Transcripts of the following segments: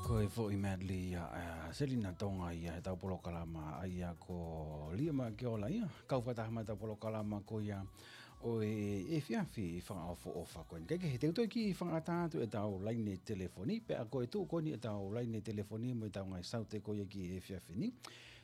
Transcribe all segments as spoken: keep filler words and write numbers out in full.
Ko e foʻi medley ia, ʻa Selina Tonga ia he tau polokalama ʻa ia ko Liema ke ola ia. Kau fakataha mai tau polokalama ko ia ʻo e efiafi fakaʻofoʻofa ko eni. Kae kehe, te u toe kiʻi fakaʻatā atu e tau laine telefoni, pea ko e tuʻu ko eni e tau laine telefoni mo e tau ngaahi saute ko ia ki he efiafi ni.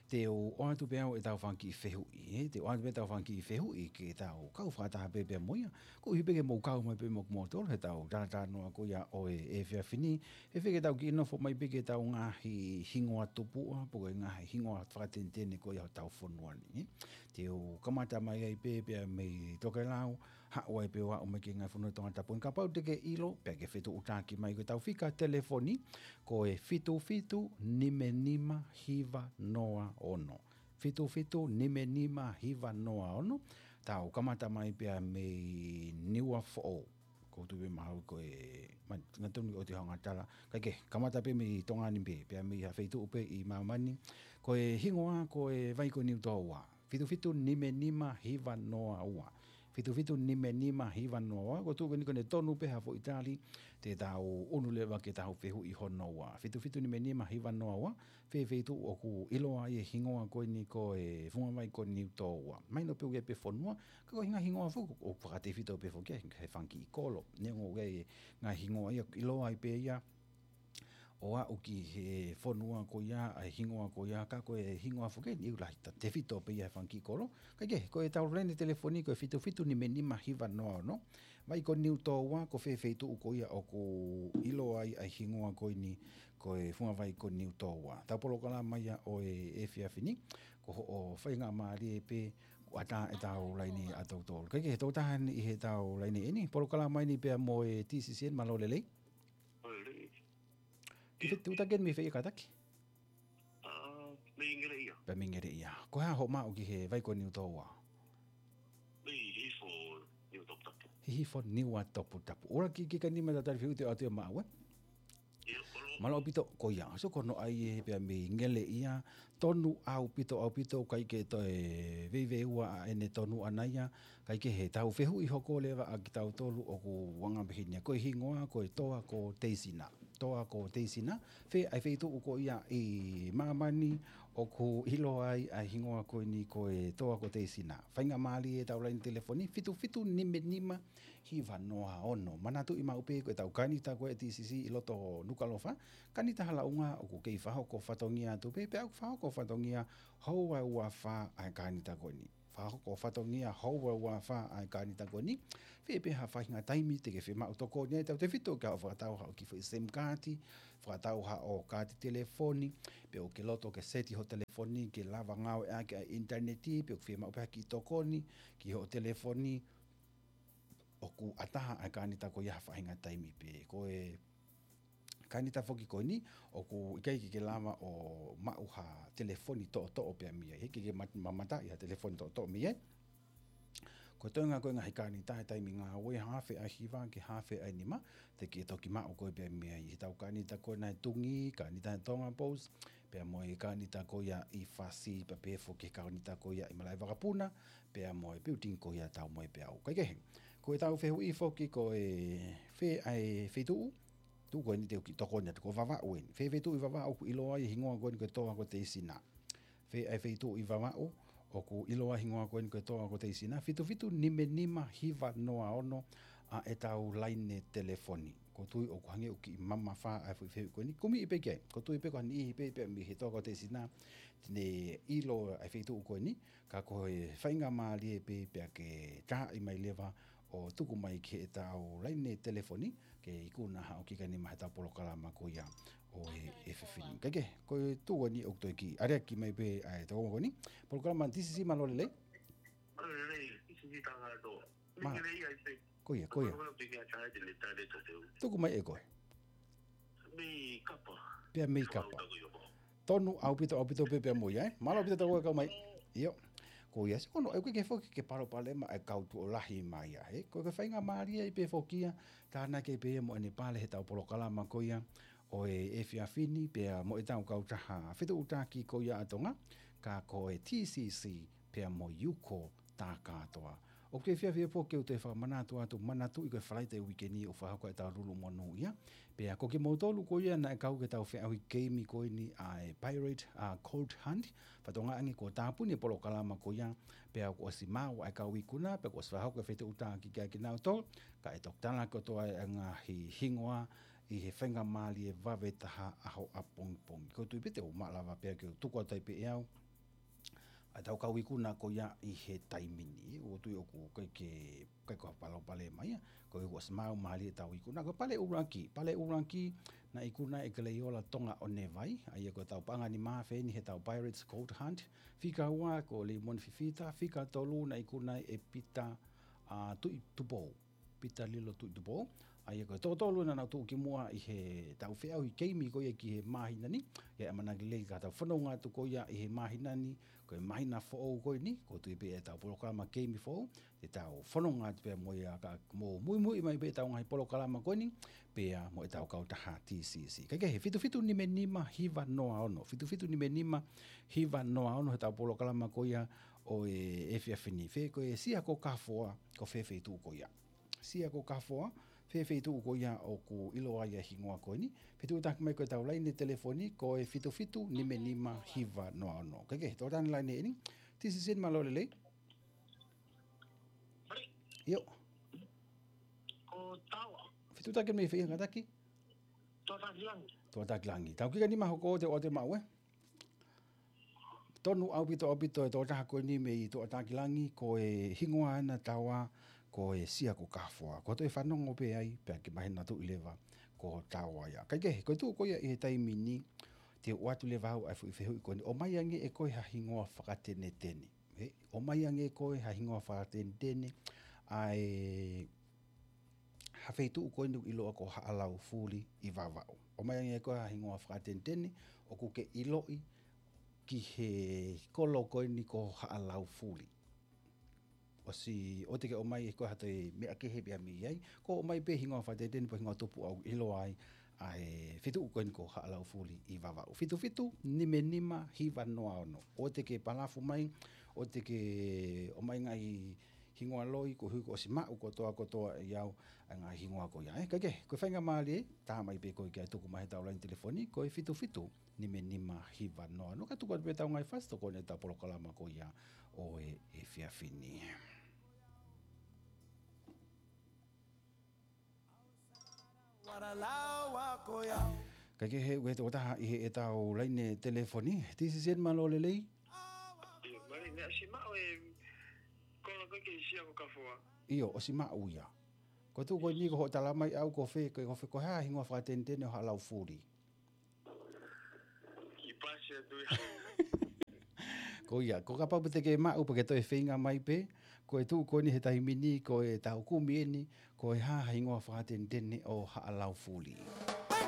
Te u ʻoatu pē au e tau fanga kiʻi fehuʻi, ē? Te u ʻoatu pē tau fanga kiʻi fehuʻi ke tau kau fakataha pē pea mo ia. Koeʻuhi pē ke mou kau mai pē mo kimoutolu he tau talatalanoa ko ia ʻo e efiafi ni. He fēfē ke tau kiʻi nofo mai pē ki he tau ngaahi hingoa tupuʻa, pe ko e ngaahi hingoa fakatenetene ko ia ʻo e tau fonua ni, ē? Te u kamata mai ai pē pea mei Tokelau, haʻu ai pē ʻo aʻu mai ki he ngaahi fonua Tongatapu ni. Kapau te ke ʻilo, pea ke fetuʻutaki mai, ko e tau fika telefoni, ko e fitu fitu nima nima hiva noa ono. Fitu fitu nima nima hiva noa ono, tau kamata mai pea mei Niuafoʻou. Ko tu pē mahau ko e, man, ngatonu o te hanga tala. Kae kehe, kamata pē mei Tonga ni pē, pea mei ha feituʻu pē ʻi māmani. Ko e hingoa, ko e vai ko Niutōua. Fitu fitu nima nima hiva noa ua. Fitu fitu nima nima hiva noa ua, ko tuʻu ko eni ko ʻene tonu pē ha foʻi tali, te tau ʻunu leva ki he tau fehuʻi hono ua. Fitu fitu nima nima hiva noa ua, fē feituʻu ʻoku ʻiloa ai e hingoa ko eni ko e funga vai ko Niutōua. Mahino pē ʻoku ʻi ai pē fonua, ka ko e hinga hingoa foki, ʻoku fakatefito pē foki ia he fanga kiʻi kolo. Neongo ʻoku ʻi ai e ngaahi hingoa ia, ʻiloa ai pē ia, ʻo aʻu ki he fonua ko ia, ʻa e hingoa ko ia, ka ko e hingoa foki eni ʻoku lahi ta-, tefito pē ia he fanga kiʻi kolo. Kae kehe, ko e tau laine telefoni ko e fitu fitu nima nima hiva noa ono. Vai ko Niutōua, ko fē feituʻu ko ia ʻoku ʻiloa ai ʻa e hingoa ko eni ko e funga vai ko Niutōua. Tau polokalama ia ʻo e efiafi ni, ko hoʻo faingamālie pē kuo ʻatā e tau laine ʻa tautolu. Kae kehe, tau taha ni ʻi he tau laine eni, polokalama eni pea mo e T C C N, mālō e lelei. Mālō e lelei. Ki he tuʻu taki eni mei fē ia kātaki? ʻA, mei Ngeleʻia. Pea mei Ngeleʻia. Ko e hā hoʻo maʻu ki he vai ko Niutōua? Mei Hihifo Niuatoputapu. Hihifo Niuatoputapu. ʻUluaki kiʻi nima tau tali fehuʻi te u ʻoatu ia maʻau, ē? ʻIo, mālō. Mālō ʻaupito, ko ia. So ko hono ʻai ē pea mei Ngeleʻia, tonu ʻaupito, ʻaupito, ʻikai ke toe veiveiua ʻa ʻene tonu ʻana ia, kae kehe, tau fehuʻi hoko leva ʻa kitautolu ʻoku anga pehē ni ia. Ko e hingoa, ko e toa ko Teisina. Toa ko Teisina, fē ʻa e feituʻu ko ia ʻi māmani ʻoku ʻiloa ai ʻa e hingoa ko eni ko e toa ko Teisina. Faingamālie e tau laine telefoni, fitu fitu nima nima hiva noa ono. Manatuʻi maʻu pē ko e tau kānita ko ē T C C ʻi loto Nukuʻalofa, kānita halaunga ʻoku kei fakahoko fatongia atu pē, pea ʻoku fakahoko fatongia houa ua fā ʻa e kānita ko eni. Fakahoko fatongia houa ua fā ʻa e kānita ko eni. Fē pē ha faʻahinga taimi te ke fiemaʻu tokoni ai, tautefito ke haʻu ʻo fakatau haʻo kiʻi foʻi SIM kaati, fakatau haʻo kaati telefoni, pe ʻoku ke loto ke seti hoʻo telefoni ke lava ngāueʻaki ʻa e ʻinitaneti, pe ʻoku fiemaʻu pē ha kiʻi tokoni ki hoʻo telefoni, ʻoku ʻatā ʻa e kānita ko ia ha faʻahinga taimi pē. Ko e kānita foki ko eni, ʻoku ʻikai ke ke lava ʻo maʻu ha telefoni toʻotoʻo pea mei ai. He ʻikai ke mat-, mamataʻi ha telefoni toʻotoʻo mei ai. Ko e toenga ko e ngaahi kānita he taimi ngāue, haafe ʻa e hiva ki he haafe ʻa e nima, te ke toki maʻu koe pea mei ai. He tau kānita ko ena ʻe Tungi, kānita ʻe Tonga Post, pea mo e kānita ko ia ʻi Fasi, pea pehē foki ki he kānita ko ia ʻi Malaʻevakapuna, pea mo e building ko ia Taumoepeau. Kae kehe, ko e tau fehuʻi foki ko e fē ʻa e feituʻu, tuʻu ko eni te u kiʻi tokoni atu, ko Vavaʻu eni. Fē feituʻu ʻi Vavaʻu ʻoku ʻiloa ai e hingoa ko eni ko e toa ko Teisina. Fē ʻa e feituʻu ʻi Vavaʻu ʻoku ʻiloa ai e hingoa ko eni ko e toa ko Teisina. Fitu fitu nima nima hiva noa ono ʻa e tau laine telefoni. ʻOku ou tui ʻoku hangē ʻoku kiʻi mamafa ʻa e foʻi fehuʻi ko eni. Kumi pē ki ai. ʻOku ou tui pē ko ha niʻihi pē pea mei he toa ko Teisina te ne ʻilo ʻa e feituʻu ko eni. Ka ko e faingamālie pē pea ke taaʻi mai leva ʻo tuku mai ki he tau laine telefoni, ke ikuna haʻo kiʻi nima he tau polokalama ko ia ʻo e efiafi ni. Kae kehe, ko e tuʻu eni ʻoku toe kiʻi aleaki mai pē ʻa e tau ko eni. Polokalama T C C, mālō e lelei. Mālō e lelei, T C C Tangaloa. Mā. Mei Ngeleʻia ʻi fē? Ko ia, ko ia. Mālō e lelei, T C C Tangaloa. Tuku mai ʻe koe. Mei Kapa. Pea mei Kapa. Tonu ʻaupito, ʻaupito pē pea mo ia, ē? Mālō ʻaupito tau kau mai. ʻIo. Ko ia, sio ko hono ʻai, ʻoku ʻikai ke foki ke palopalema ʻa e kau tuʻo lahi mai ia, ē? Ko e faingamālie ai pē foki ia, tānaki pē ia mo ʻene pale he tau polokalama ko ia ʻo e efiafi ni, pea mo e tau kautaha fetuʻutaki ko ia ʻa Tonga, ka ko e T C C pea mo Yuko Takatoa. ʻOku ke fiafia pē ke u toe fakamanatu atu, manatuʻi ko e Falaite uike ni ʻoku fakahoko ʻetau lulu monū ia. Pea ko kimoutolu ko ia naʻe kau ki heʻetau feʻauhi keimi ko eni ʻa e Pirate, ʻa Gold Hunt, fakatokangaʻi ange kuo tāpuni e polokalama ko ia, pea kuo ʻosi maʻu ʻa e kau ikuna, pea kuo ʻosi fakahoko e fetuʻutaki kiate kinautolu, kae toki tala kotoa e ngaahi hingoa ʻi he faingamālie vave taha ʻaho ʻapongipongi. Ko e tui pē te u maʻu lava pē ke u tuku atu ai pē ʻe au ʻa ʻetau kau ikuna ko ia ʻi he taimi ni. ʻOku tui ʻoku ʻikai ke, ʻikai ko ha palopalema ia. Ko e kuo ʻosi maʻu mālie ʻetau ikuna. Ko e pale ʻuluaki, pale ʻuluaki naʻe ikuna ʻe Keleiola Tonga ʻo Nevai. ʻA ia ko ʻetau paʻanga nima afe eni heʻetau Pirates Gold Hunt. Fika ua ko Leimoni Fifita. Fika tolu naʻe ikuna ʻe Pita, ʻa, Tuʻitupou. Pita Lilo Tuʻitupou. ʻA ia ko e toko tolu naʻa nau tuʻu ki muʻa ʻi heʻetau feʻauhi keimi ko ia ki he māhina ni. ʻA ia ʻamanaki lelei ke tau fononga atu ko ia ʻi he māhina ni, ko e māhina foʻou ko eni, ʻoku tui pē ʻetau polokalama keimi foʻou, te tau fononga atu pē mo ia ka mo muimui mai pē ʻetau ngaahi polokalama ko eni, pea mo ʻetau kautaha T C C. Kae kehe, fitu fitu nima nima hiva noa ono, fitu fitu nima nima hiva noa ono heʻetau polokalama ko ia ʻo e efiafi ni. Fē ko e Sia ko Kafoa, ko fē feituʻu ko ia. Sia ko Kafoa, fē feituʻu ko ia ʻoku ʻiloa ai e hingoa ko eni. Fetuʻutaki mai ko ʻetau laine telefoni, ko e fitu fitu nima nima hiva noa ono. Kae kehe, tō tani laine eni. Tisisen, mālō e lelei. ʻIo. Ko Taua. Fetuʻutaki mai fē ia kātaki? Toʻataki Langi. Toʻataki Langi. Tau kika nima hoko te o te maʻu ē. Tonu ʻaupito ʻaupito e tokotaha ko eni mei Toʻataki Langi, ko e hingoa ʻena Taua, ko e Sia ko Kafoa. Ko e toe fanongo pē ai, pea ke mahino atu ʻi leva ko Taua ia. Kae kehe, ko e tuʻu ko ia ʻi he taimi ni, te u ʻoatu leva au ʻa e foʻi fehuʻi ko eni. ʻOmai ange ʻe koe ha hingoa fakatenetene. He, ʻomai ange ʻe koe ha hingoa fakatenetene, ʻa e ha feituʻu ko eni ʻoku ʻiloa ko Haʻalaufuli ʻi Vavaʻu. ʻOmai ange ʻe koe ha hingoa fakatenetene, ʻoku ke ʻiloʻi ki he kolo ko eni ko Haʻalaufuli. ʻOsi, ʻoua te ke ʻomai ʻe koe ha toe meʻa kehe pea mei ai. Ko ʻomai pē hingoa fakatenetene pe hingoa tupu ʻoku ʻiloa ai ʻa e feituʻu ko eni ko Haʻalaufuli ʻi Vavaʻu. Fitu fitu nima nima hiva noa ono. ʻOua te ke palafu mai, ʻoua te ke ʻomai ngaahi hingoa loi, koeʻuhi kuo ʻosi maʻu kotoa kotoa ʻe au ʻa e ngaahi hingoa ko ia. Ē, kae kehe, ko e faingamālie, tā mai pē koe ke tuku mai heʻetau laine telefoni, ko e fitu fitu nima nima hiva noa ono. Ka tuku atu pē ʻetau ngaahi fasi tokoni ʻetau polokalama ko ia ʻo e efiafi ni. Kae kehe, ʻoku ʻi ai ha tokotaha ʻi heʻetau laine telefoni. Tisisen, mālō e lelei. ʻIo, mālō, naʻe ʻosi maʻu e kolo ko ē ki he Sia ko Kafoa. ʻIo, ʻosi maʻu ia. Ko e tuʻu ko eni ko hoʻo tala mai ʻe au ko fē, ko, ko fē, ko e hā e hingoa fakatenetene ʻo Haʻalaufuli. Kiʻi pasi atu ia. Ko ia, ko kapau pē te ke maʻu pea ke toe feinga mai pē, ko e tuʻu ko eni he taimi ni, ko ʻetau kumi eni, ko e hā e hingoa fakatenetene ʻo Haʻalaufuli.